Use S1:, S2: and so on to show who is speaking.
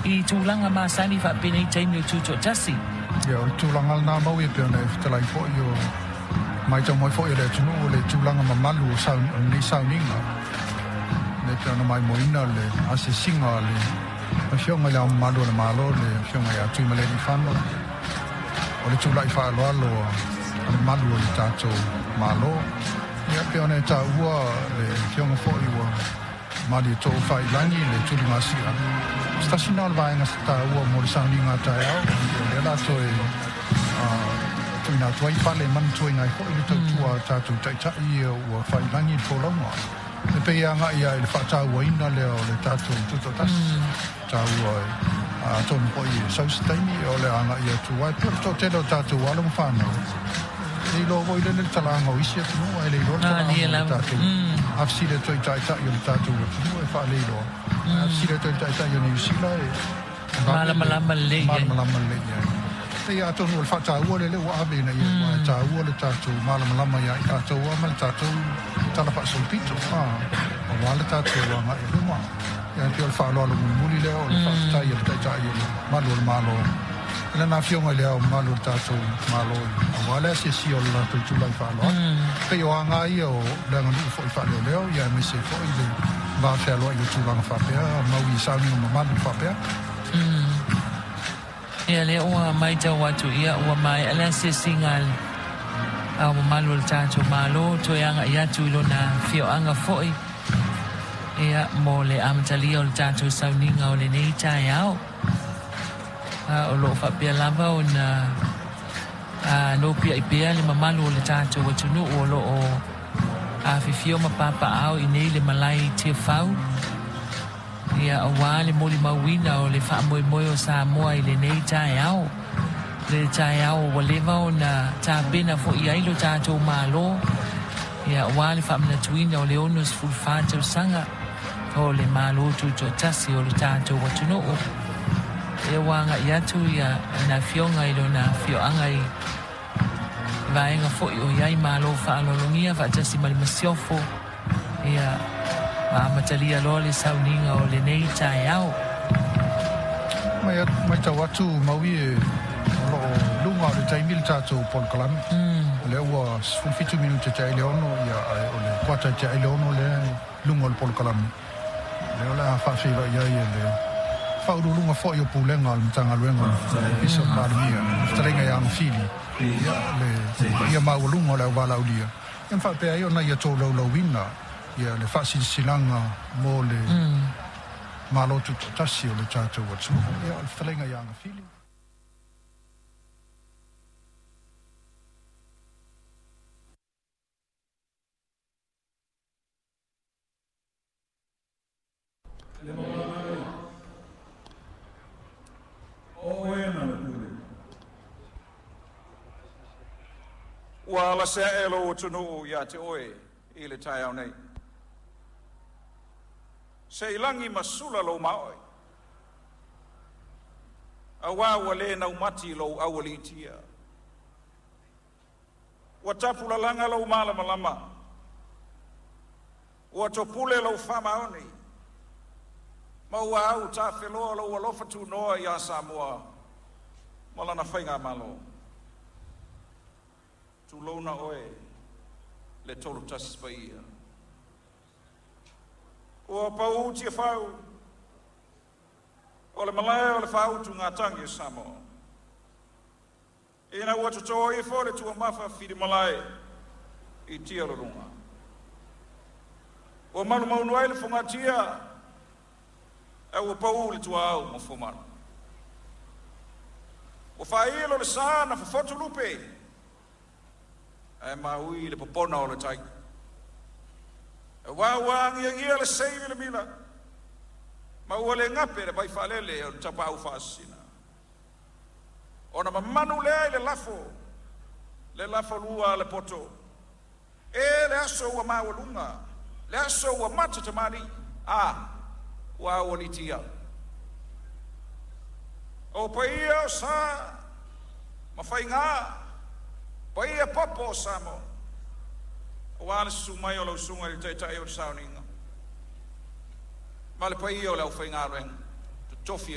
S1: I tulaga masani faapenei taimi o tutoatasi.
S2: Ia, o le tulaga lena mau e pei ona e fetalai foi o matau mai foi e le atunuu o le tulaga mamalu o lenei sauniga. Le pei ona maimoaina le asiasiga a le Afioga i Le Ao Mamalu o le Malo, le Afioga ia Tuimalealiifano, o le tulai faaaloalo a le malu o le tatou Malo. Ia, pei ona e taua le Afioga foi ua Malietoa Faiilagi le tuligasia, o se tasi lena o le vaega taua mo le sauniga a taeao, o lea o le a toe tuuina atu ai pale e manatuaina ai foi le tautua a tatou taitai ia ua faiilagi le folauga. E pei e agai lava i le faatauaina lea o le tatou tutoatasi, taua atonu foi e sau se taimi o le a agai atu ai. E pei o le toatele o tatou alo ma fanau, e iloa foi lele le talaga o isi atunuu ae le iloa le talaga o le tatou. A fesili atu ai i taitai o le tatou atunuu e faaleiloa, ae a fesili atu ai i le taitai o Niu Sila e
S1: malamalama lelei
S2: i ai. Malamalama lelei i ai. Pei atonu o le faataua lea ua ave ina ia aua e taua le tatou malamalama ia i tatou lava ma le tatou tala faasolopito, aua le tatou agai i luma. Ia e pei o le faaaloalo mulimuli lea o le faafetai a le Taitai o le Malu o le Malo i lana Afioga i Le Ao Mamalu o le tatou Malo aua le asiasia o le latou tulai faaaloalo. Pei o aga ia o le aganuu foi faaleoleo ia aemaise ai foi le va fealoai o tulaga faapea mau i sauniga mamalu faapea.
S1: Ia lea ua maitau atu ia ua maea le asiasiga a le Ao Mamalu o le tatou Malo toe agai atu i lona afioaga foi ia mo le amatalia o le tatou sauniga o lenei taeao. O lo o faapea lava ona nopiai pea le mamalu o le tatou atunuu o lo o afifio ma papaaao i nei le malae i Tiafau, ia aua le molimauina o le faamoemoe o Samoa i lenei taeao. Le taeao ua leva ona tapena foi i ai lo tatou Malo, ia aua le faamanatuina o le 64 tausaga o le Malo Tutoatasi o le tatou atunuu. Ia ua agai atu ia na afioga i lona afioaga i vaega foi o i ai malo faaaloalogia faatasi ma le masiofo, ia ma amatalia loa le sauniga o lenei taeao.
S2: Matau atu Maui e o lo o luga o le taimi le tatou polokalame. O lea ua 17 minute te ai le 6, ia ae o le kuata te ai le 6 lea e luga o le polokalame. Lea o le a faafeiloai ai e le faauluuluga foi o Pulega o le Matagaluega o le Ofisa o le Palemia, le fetalaiga ia Agafili, ia le paia maualuga o le auvalaaulia, ia ma faapea ai ona ia tolaulauina ia le faasilasilaga mo le Malo Tutoatasi o le tatou atunuu. Ia, o le fetalaiga ia Agafili.
S3: Le Maulana e, o oe na le pule.
S4: Ua alase ae lou atunuu ia te oe i le taeao nei. Se i lagi ma sula lou maoe, auā ua lē naumati lou aualiitia. Ua tapulalaga lou malamalama, ua topule lou faamaoni, ma ua au tafeloa lou alofa tunoa iā Samoa ma lana faigamalo. Tulouna oe le Tolutasi Paia. Ua pau Tiafau o le malae o le faautugatagi o Samoa, ina ua totō ifo le tuamafa filimalae i tia luluga. Ua malumaunu ai le fogatia, ae ua pau le tuaau ma fuamalu. Ua faailo le sa na fofotu lupe, ae maui le popona o le tai. Auā ua agiagia le sei milamila, ma ua le gape le vaifaalele o le tapaau faasisina. Ona mamanu lea i le lafo, le lafolua a le poto. E le aso ua maualuga, le aso ua mata tamalii, a ua aualiitia. O paia o sa ma faigā, paia popo o Samoa, auā le susu mai o lau susuga i le Taitai o le Sauniga, ma le paia o le aufaigaluega totofi.